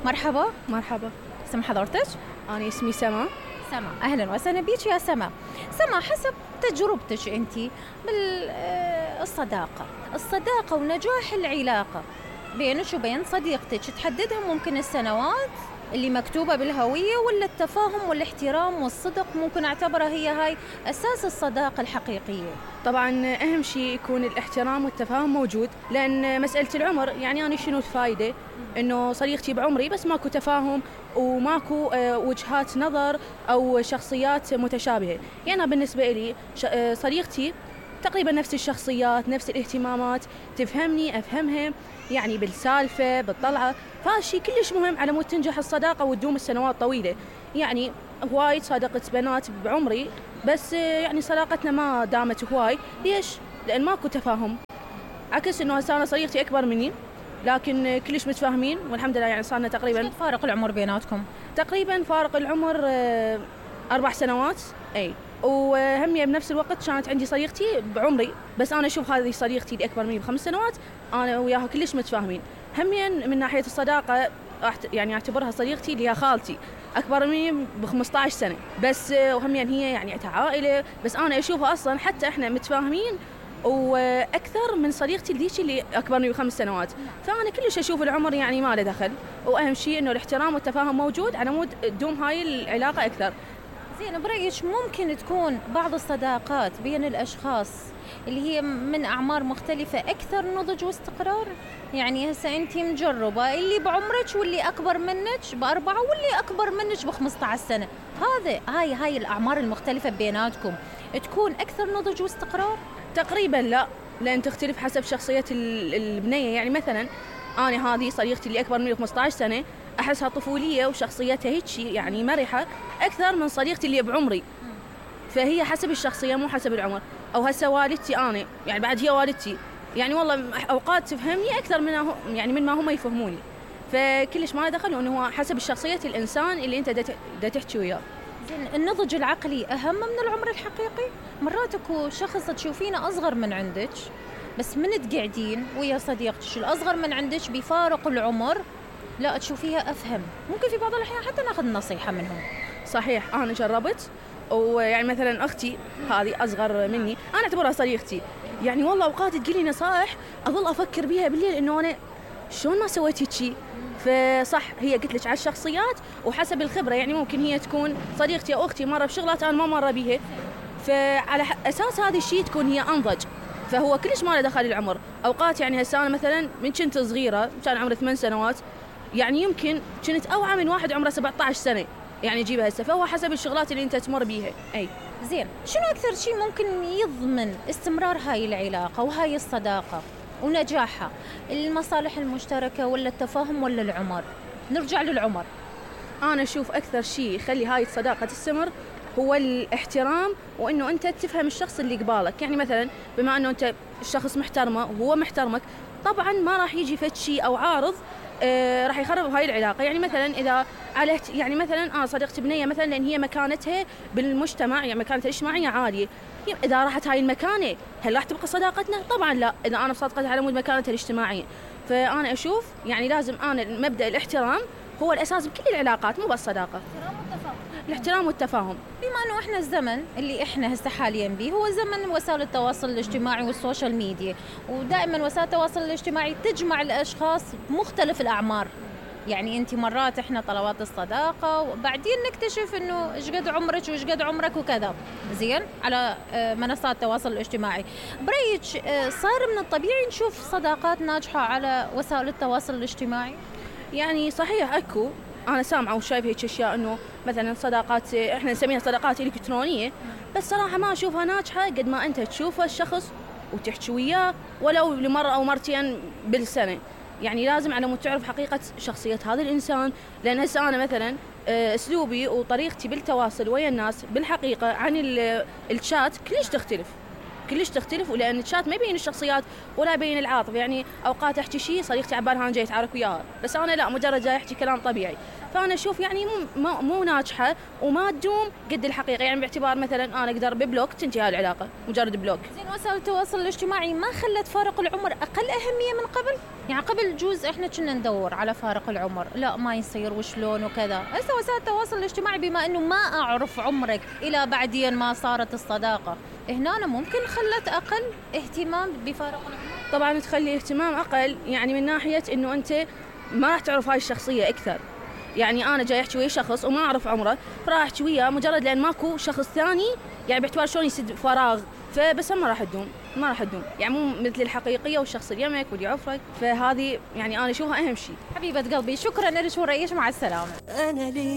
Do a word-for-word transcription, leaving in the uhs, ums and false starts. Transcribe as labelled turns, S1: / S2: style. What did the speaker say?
S1: مرحبا.
S2: مرحبا.
S1: اسم حضرتك؟
S2: أنا اسمي سما.
S1: سما، أهلا وسهلا بيك يا سما. سما، حسب تجربتك أنت بالصداقة الصداقة ونجاح العلاقة بينك وبين صديقتك تحددها ممكن السنوات اللي مكتوبة بالهوية، ولا التفاهم والاحترام والصدق ممكن أعتبرها هي هاي أساس الصداقة الحقيقية؟
S2: طبعا أهم شيء يكون الاحترام والتفاهم موجود، لأن مسألة العمر يعني أنا شنو الفايدة إنه صديقتي بعمري بس ماكو تفاهم وماكو وجهات نظر أو شخصيات متشابهة. يعني أنا بالنسبة لي صديقتي تقريبا نفس الشخصيات، نفس الاهتمامات، تفهمني أفهمها، يعني بالسالفة بالطلعة، فهالشي كلش مهم على مود تنجح الصداقة وتدوم السنوات طويلة. يعني هواي صادقت بنات بعمري بس يعني صداقتنا ما دامت هواي. ليش؟ لأن ماكو تفاهم، عكس إنه هسه أنا صديقتي أكبر مني لكن كلش متفاهمين والحمد لله. يعني صارنا تقريبا
S1: فارق العمر بيناتكم؟
S2: تقريبا فارق العمر أربع سنوات. أي وهمية بنفس الوقت كانت عندي صديقتي بعمري بس أنا أشوف هذه صديقتي اللي أكبر مني بخمس سنوات أنا وياها كلش متفاهمين. هميا من ناحية الصداقة يعني أعتبرها صديقتي اللي هي خالتي أكبر مني بخمسة عشر سنة بس، وهميا هي يعني عائلة، بس أنا أشوفها أصلا حتى إحنا متفاهمين وأكثر من صديقتي الليش اللي أكبر مني بخمس سنوات. فأنا كلش أشوف العمر يعني ما له دخل، وأهم شيء إنه الاحترام والتفاهم موجود على مود تدوم هاي العلاقة أكثر.
S1: زين، برأيك ممكن تكون بعض الصداقات بين الأشخاص اللي هي من أعمار مختلفة أكثر نضج واستقرار؟ يعني هسه أنت مجربة اللي بعمرك واللي أكبر منك بأربعة واللي أكبر منك بخمسة عشر سنة، هذا هاي هاي الأعمار المختلفة بيناتكم تكون أكثر نضج واستقرار؟
S2: تقريبا لا، لأن تختلف حسب شخصية البنية. يعني مثلا أنا هذه صديقتي اللي أكبر مني بخمسة عشر سنة أحسها طفولية وشخصيتها هيك يعني مرحة أكثر من صديقتي اللي بعمري، فهي حسب الشخصية مو حسب العمر. أو هسه والدتي أنا يعني بعد هي والدتي يعني والله أوقات تفهمني أكثر من يعني من ما هم يفهموني، فكلش ما دخل إنه هو حسب الشخصية الإنسان اللي أنت دا تحكي وياه.
S1: زين، النضج العقلي أهم من العمر الحقيقي؟ مرات اكو شخص تشوفينه أصغر من عندك بس من تقعدين ويا صديقتك الأصغر من عندك بفارق العمر لا تشوفيها أفهم، ممكن في بعض الأحيان حتى ناخذ نصيحة منهم.
S2: صحيح، أنا جربت، ويعني مثلا أختي هذه أصغر مني أنا أعتبرها صديقتي، يعني والله أوقات تقولي نصائح أظل أفكر بيها بالليل إنه أنا شلون ما سويت هيك. فصح هي قلت لك على الشخصيات وحسب الخبرة، يعني ممكن هي تكون صديقتي أو أختي مرة بشغلات أنا ما مرة بيها، فعلى أساس هذا الشيء تكون هي أنضج، فهو كلش ما له دخل العمر. أوقات يعني هسه أنا مثلا من كنت صغيرة كان عمري ثمان سنوات يعني يمكن كنت أوعى من واحد عمره سبعة عشر سنة يعني جيبها هسه، فهو حسب الشغلات اللي أنت تمر بيها. أي
S1: زين، شنو أكثر شيء ممكن يضمن استمرار هاي العلاقة وهاي الصداقة ونجاحها؟ المصالح المشتركة ولا التفاهم ولا العمر؟ نرجع للعمر.
S2: أنا أشوف أكثر شيء يخلي هاي الصداقة تستمر هو الاحترام، وإنه أنت تفهم الشخص اللي قبالك. يعني مثلا بما إنه أنت الشخص محترمه وهو محترمك طبعا ما راح يجي فد شيء أو عارض آه راح يخرب هاي العلاقة. يعني مثلا إذا على يعني مثلا أنا صديقتي بنية مثلا لأن هي مكانتها بالمجتمع يعني مكانتها الاجتماعية عالية، إذا راحت هاي المكانة هل راح تبقى صداقتنا؟ طبعا لا، إذا أنا بصدقتها على مود مكانتها الاجتماعية. فأنا أشوف يعني لازم أنا مبدأ الاحترام هو الأساس بكل العلاقات مو بس صداقة. الاحترام والتفاهم.
S1: بما انه احنا الزمن اللي احنا هسه حاليا به هو زمن وسائل التواصل الاجتماعي والسوشيال ميديا، ودائما وسائل التواصل الاجتماعي تجمع الاشخاص بمختلف الاعمار. يعني انت مرات احنا طلبات الصداقه وبعدين نكتشف انه ايش قد عمرك وايش قد عمرك وكذا زين على منصات التواصل الاجتماعي. برايك صار من الطبيعي نشوف صداقات ناجحه على وسائل التواصل الاجتماعي؟
S2: يعني صحيح اكو، أنا سامعة وشايفة هيك أشياء إنه مثلاً صداقات إحنا نسميها صداقات إلكترونية، بس صراحة ما أشوفها ناجحة قد ما أنت تشوفه الشخص وتحكي وياه ولو لمرة أو مرتين بالسنة. يعني لازم على مود تعرف حقيقة شخصية هذا الإنسان، لأن هسه أنا مثلاً أسلوبي وطريقتي بالتواصل ويا الناس بالحقيقة عن الشات كلش تختلف. كلش تختلف، ولان الشات ما يبين الشخصيات ولا يبين العاطفه. يعني اوقات احكي شيء صديقتي عبالها انا جاي اتعارك وياها، بس انا لا، مجرد جاي احكي كلام طبيعي. فانا اشوف يعني مو مو ناجحه وما تدوم قد الحقيقه. يعني باعتبار مثلا انا اقدر ببلوك تنتهي هاي العلاقه، مجرد بلوك.
S1: زين وسائل التواصل الاجتماعي ما خلت فارق العمر اقل اهميه من قبل؟ يعني قبل جوز احنا كنا ندور على فارق العمر، لا ما يصير وشلون وكذا. هسه وسائل التواصل الاجتماعي بما انه ما اعرف عمرك الى بعدين ما صارت الصداقه، هنا أنا ممكن خلت اقل اهتمام بفارق العمر.
S2: طبعا تخلي اهتمام اقل، يعني من ناحيه انه انت ما راح تعرف هاي الشخصيه اكثر. يعني انا جاي احكي ويا شخص وما اعرف عمره، فراح احكي وياه مجرد لان ماكو شخص ثاني، يعني باعتبار شلون يسد فراغ. فبس ما راح تدوم، ما راح تدوم، يعني مو مثل الحقيقيه والشخص اللي يمك واللي يعرفك. فهذه يعني انا اشوفها اهم شيء.
S1: حبيبه قلبي شكرا لك وريش، مع السلامه.
S3: أنا لي